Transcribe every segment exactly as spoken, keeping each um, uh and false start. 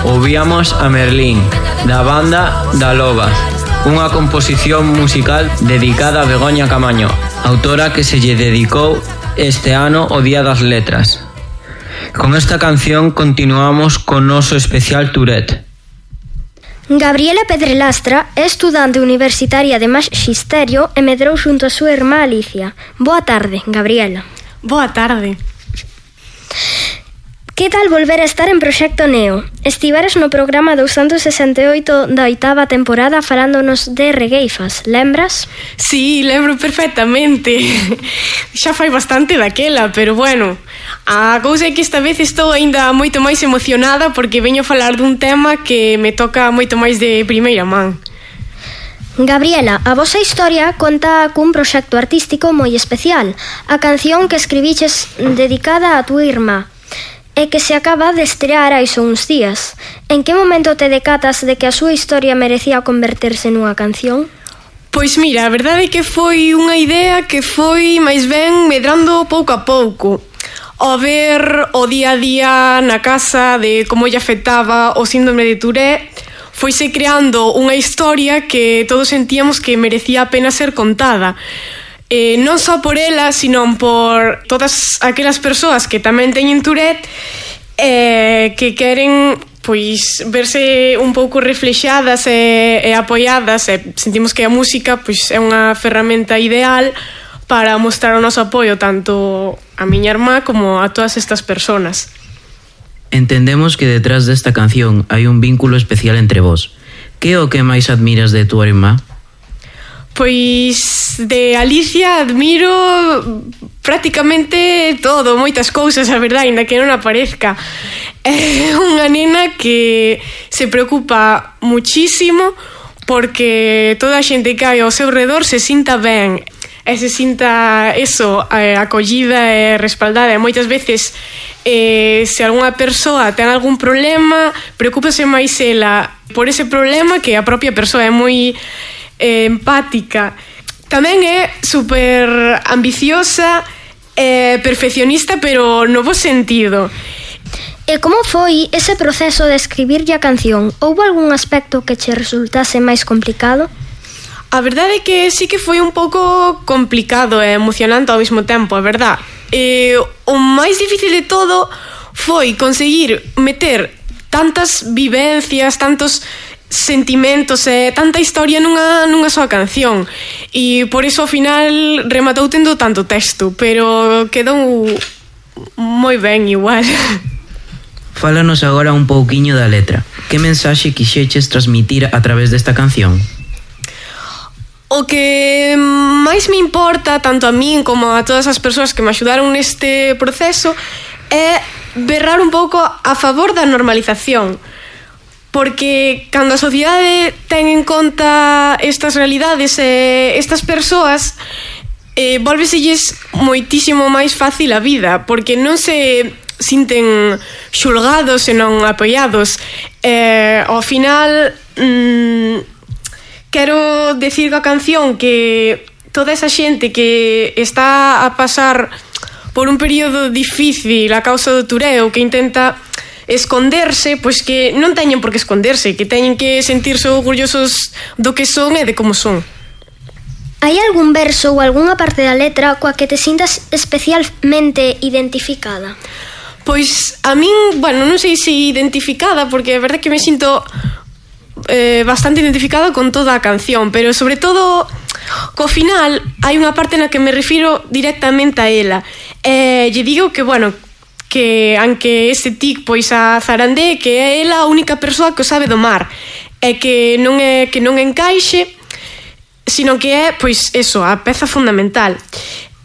ouvíamos a Merlín, da banda Da Loba, unha composición musical dedicada a Begoña Camaño, autora que se lle dedicou este ano o Día das Letras. Con esta canción continuamos con noso especial Tourette. Gabriela Pedrelastra é estudante universitaria de Maxisterio e medrou xunto a súa irmá Alicia. Boa tarde, Gabriela. Boa tarde. Que tal volver a estar en Proxecto Neo? Estiveras no programa douscentos sesenta e oito da oitava temporada falándonos de regueifas, lembras? Sí, lembro perfectamente. Xa fai bastante daquela, pero bueno, a cousa é que esta vez estou aínda moito máis emocionada porque veño a falar dun tema que me toca moito máis de primeira man. Gabriela, a vosa historia conta cun proxecto artístico moi especial, a canción que escribiches dedicada a túa irmá, e que se acaba de estrear hai só uns días. En que momento te decatas de que a súa historia merecía converterse nunha canción? Pois mira, a verdade é que foi unha idea que foi máis ben medrando pouco a pouco. Ao ver o día a día na casa de como lle afectaba o síndrome de Tourette, foise creando unha historia que todos sentíamos que merecía a pena ser contada. Eh, non só por ela, sino por todas aquelas persoas que tamén teñen Tourette eh, que queren pois verse un pouco reflexadas e, e apoiadas, e sentimos que a música pois é unha ferramenta ideal para mostrar o noso apoio tanto a miña irmá como a todas estas persoas. Entendemos que detrás desta canción hai un vínculo especial entre vos. Que é o que máis admiras de túa irmá? Pois de Alicia admiro prácticamente todo, moitas cousas, a verdade, ainda que non aparezca. É unha nena que se preocupa muchísimo porque toda a xente que hai ao seu redor se sinta ben e se sinta eso, acollida e respaldada. E moitas veces eh, se algunha persoa ten algún problema, preocúpase máis ela por ese problema que a propia persoa. É moi eh, empática. Tamén é super ambiciosa e perfeccionista, pero no bo sentido. E como foi ese proceso de escribirlle a canción? Houbo algún aspecto que che resultase máis complicado? A verdade é que sí que foi un pouco complicado e emocionante ao mesmo tempo, a verdade. E o máis difícil de todo foi conseguir meter tantas vivencias, tantos sentimentos e tanta historia nunha, nunha soa canción. E por iso ao final rematou tendo tanto texto, pero quedou moi ben igual. Fálanos agora un pouquiño da letra. Que mensaxe quixeches transmitir a través desta canción? O que máis me importa, tanto a min como a todas as persoas que me axudaron neste proceso, é berrar un pouco a favor da normalización. Porque cando a sociedade ten en conta estas realidades e estas persoas, eh, volveselles moitísimo máis fácil a vida, porque non se sinten xulgados e non apoiados. Eh, ao final, mmm, quero decir coa canción que toda esa xente que está a pasar por un período difícil a causa do Tourette ou que intenta esconderse, pois que non teñen por que esconderse, que teñen que sentirse orgullosos do que son e de como son. Hai algún verso ou algunha parte da letra coa que te sintas especialmente identificada? Pois a min, bueno, non sei se identificada, porque é verdade que me sinto eh, bastante identificada con toda a canción, pero sobre todo co final hai unha parte na que me refiro directamente a ela. Eh, lle digo que, bueno, que aunque este tic pois a zarandee, que é ela a única persoa que o sabe domar, e que non é que non encaixe, sino que é, pois, eso, a peza fundamental.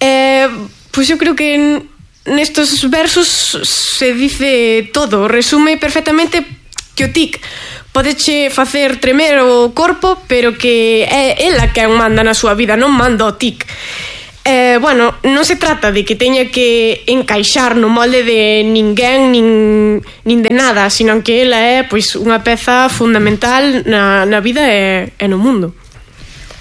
Eh, pois eu creo que nestos versos se dice todo, resume perfectamente que o tic podeche facer tremer o corpo, pero que é ela que manda na súa vida, non manda o tic. Eh, bueno, non se trata de que teña que encaixar no molde de ninguén nin, nin de nada, sino que ela é pois unha peza fundamental na, na vida e, e no mundo.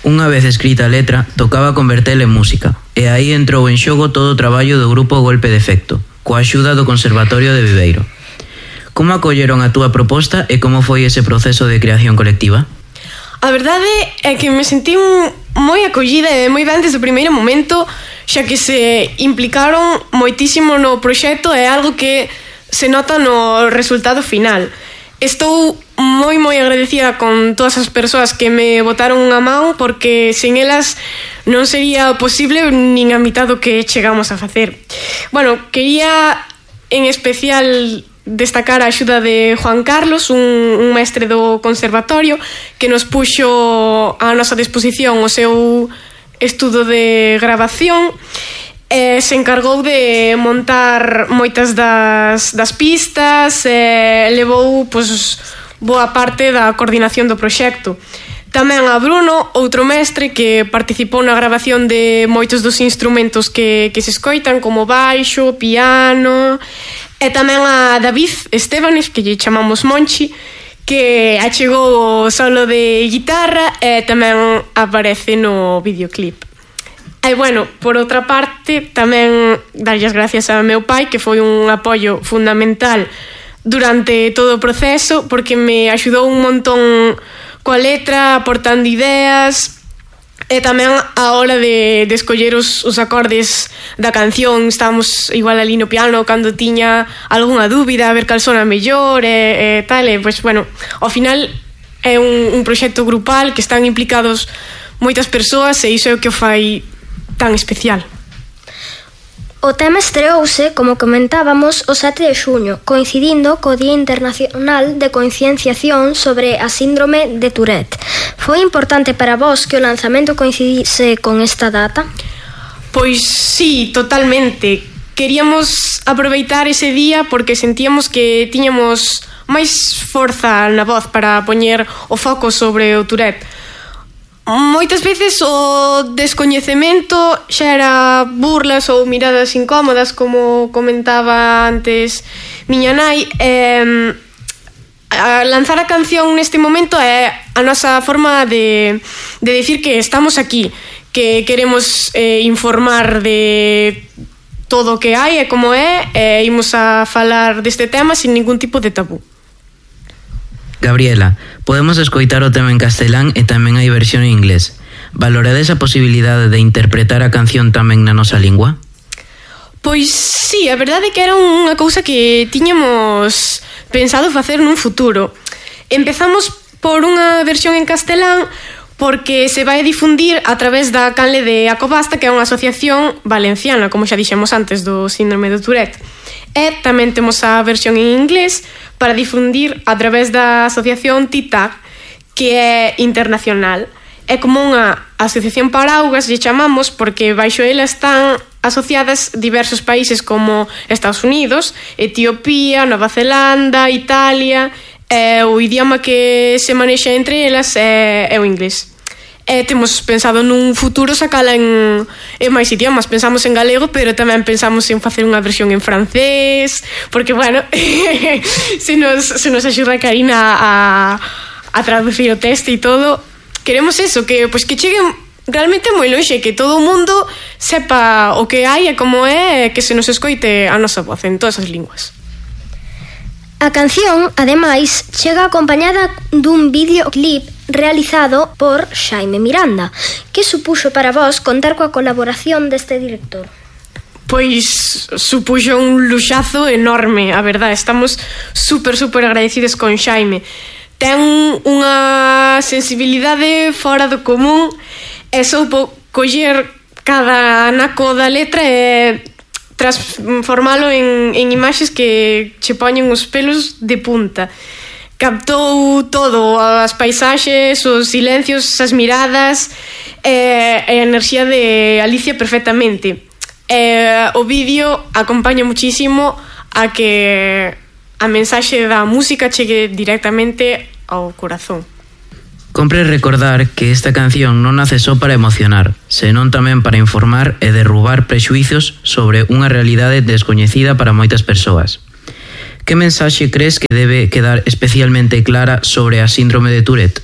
Unha vez escrita a letra, tocaba convertela en música, e aí entrou en xogo todo o traballo do grupo Golpe de Efecto, coa axuda do Conservatorio de Viveiro. Como acolleron a túa proposta e como foi ese proceso de creación colectiva? A verdade é que me sentí moi acollida e moi ben desde o primeiro momento, xa que se implicaron moitísimo no proxecto e algo que se nota no resultado final. Estou moi moi agradecida con todas as persoas que me botaron unha man, porque sen elas non sería posible nin a mitad do que chegamos a facer. Bueno, quería en especial destacar a axuda de Juan Carlos, un, un mestre do conservatorio, que nos puxo a nosa disposición o seu estudo de grabación. Eh, se encargou de montar moitas das, das pistas e levou pois, boa parte da coordinación do proxecto. Tamén a Bruno, outro mestre que participou na grabación de moitos dos instrumentos que, que se escoitan, como baixo, piano, e tamén a David Estebanes, que lle chamamos Monchi, que achegou o solo de guitarra e tamén aparece no videoclip. E, bueno, por outra parte, tamén darlle as gracias a meu pai, que foi un apoio fundamental durante todo o proceso, porque me axudou un montón coa letra, aportando ideas, e tamén a hora de, de escoller os, os acordes da canción. Estábamos igual ali no piano cando tiña algunha dúbida, a ver cal sona mellor e, e tal, e, pois, bueno, ao final é un, un proxecto grupal que están implicados moitas persoas e iso é o que o fai tan especial. O tema estreouse, como comentábamos, o sete de xuño, coincidindo co Día Internacional de Concienciación sobre a Síndrome de Tourette. Foi importante para vós que o lanzamento coincidise con esta data? Pois sí, totalmente. Queríamos aproveitar ese día porque sentíamos que tiñamos máis forza na voz para poñer o foco sobre o Tourette. Moitas veces o descoñecemento xa era burlas ou miradas incómodas, como comentaba antes miña nai. Eh, a lanzar a canción neste momento é a nosa forma de, de decir que estamos aquí, que queremos eh, informar de todo o que hai e como é, e imos a falar deste tema sin ningún tipo de tabú. Gabriela, podemos escoitar o tema en castelán e tamén hai versión en inglés. Valorades a posibilidade de interpretar a canción tamén na nosa lingua? Pois sí, a verdade é que era unha cousa que tiñamos pensado facer nun futuro. Empezamos por unha versión en castelán porque se vai difundir a través da canle de Acobasta, que é unha asociación valenciana, como xa dixemos antes, do síndrome de Tourette. E tamén temos a versión en inglés para difundir a través da asociación T I T A C, que é internacional. É como unha asociación paraugas, lle chamamos, porque baixo ela están asociadas diversos países como Estados Unidos, Etiopía, Nova Zelanda, Italia, e o idioma que se manexa entre elas é, é o inglés. E temos pensado nun futuro sacala en, en máis idiomas. Pensamos en galego, pero tamén pensamos en facer unha versión en francés, porque, bueno, se nos, se nos axuda a Karina a, a traducir o texto e todo. Queremos eso, que, pues, que cheguen realmente moi longe, que todo o mundo sepa o que hai e como é, que se nos escoite a nosa voz en todas as linguas. A canción, ademais, chega acompañada dun videoclip realizado por Xaime Miranda. Que supuxo para vós contar coa colaboración deste director? Pois supuxo un luxazo enorme, a verdade. Estamos super, super agradecidos con Xaime. Ten unha sensibilidade fora do común e soupo coller cada anaco da letra e transformalo en, en imaxes que che poñen os pelos de punta. Captou todo, as paisaxes, os silencios, as miradas e, e a enerxía de Alicia perfectamente. E, o vídeo acompaña muchísimo a que a mensaxe da música chegue directamente ao corazón. Compre recordar que esta canción non nace só para emocionar, senón tamén para informar e derrubar prexuizos sobre unha realidade descoñecida para moitas persoas. Que mensaxe crees que debe quedar especialmente clara sobre a síndrome de Tourette?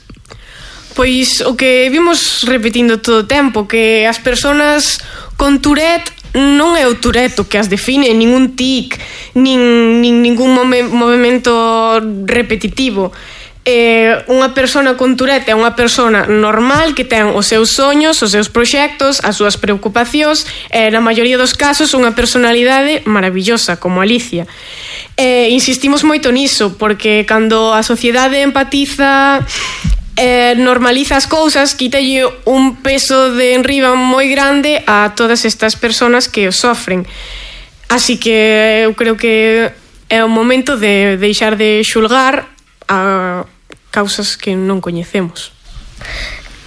Pois o que vimos repetindo todo o tempo, que as persoas con Tourette non é o Tourette que as define, nin un tic, nin, nin ningún move, movimento repetitivo. Eh, unha persona con Tourette é unha persona normal que ten os seus soños, os seus proxectos, as súas preocupacións e, na maioría dos casos, unha personalidade maravillosa, como Alicia. Eh, insistimos moito niso, porque cando a sociedade empatiza, eh, normaliza as cousas, quítalle un peso de enriba moi grande a todas estas persoas que o sofren. Así que eu creo que é o momento de deixar de xulgar a causas que non coñecemos.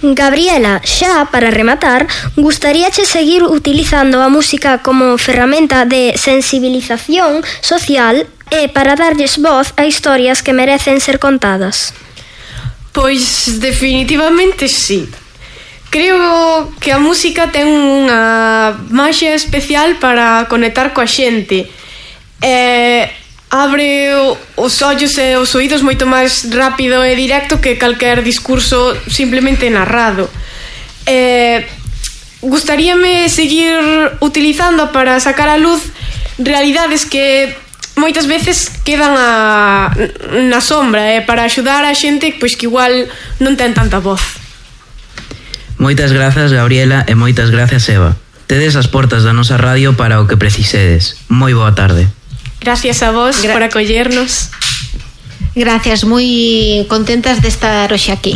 Gabriela, xa para rematar, gustaríache seguir utilizando a música como ferramenta de sensibilización social e para darlles voz a historias que merecen ser contadas? Pois definitivamente sí. Creo que a música ten unha maxia especial para conectar coa xente. Eh... abre os ollos e os oídos moito máis rápido e directo que calquer discurso simplemente narrado. Eh, gustaríame seguir utilizando para sacar a luz realidades que moitas veces quedan a, na sombra, eh, para axudar a xente pois que igual non ten tanta voz. Moitas grazas, Gabriela, e moitas grazas, Eva. Tedes as portas da nosa radio para o que precisedes. Moi boa tarde. Gracias a vos Gra- por acollernos. Gracias, moi contentas de estar hoxe aquí.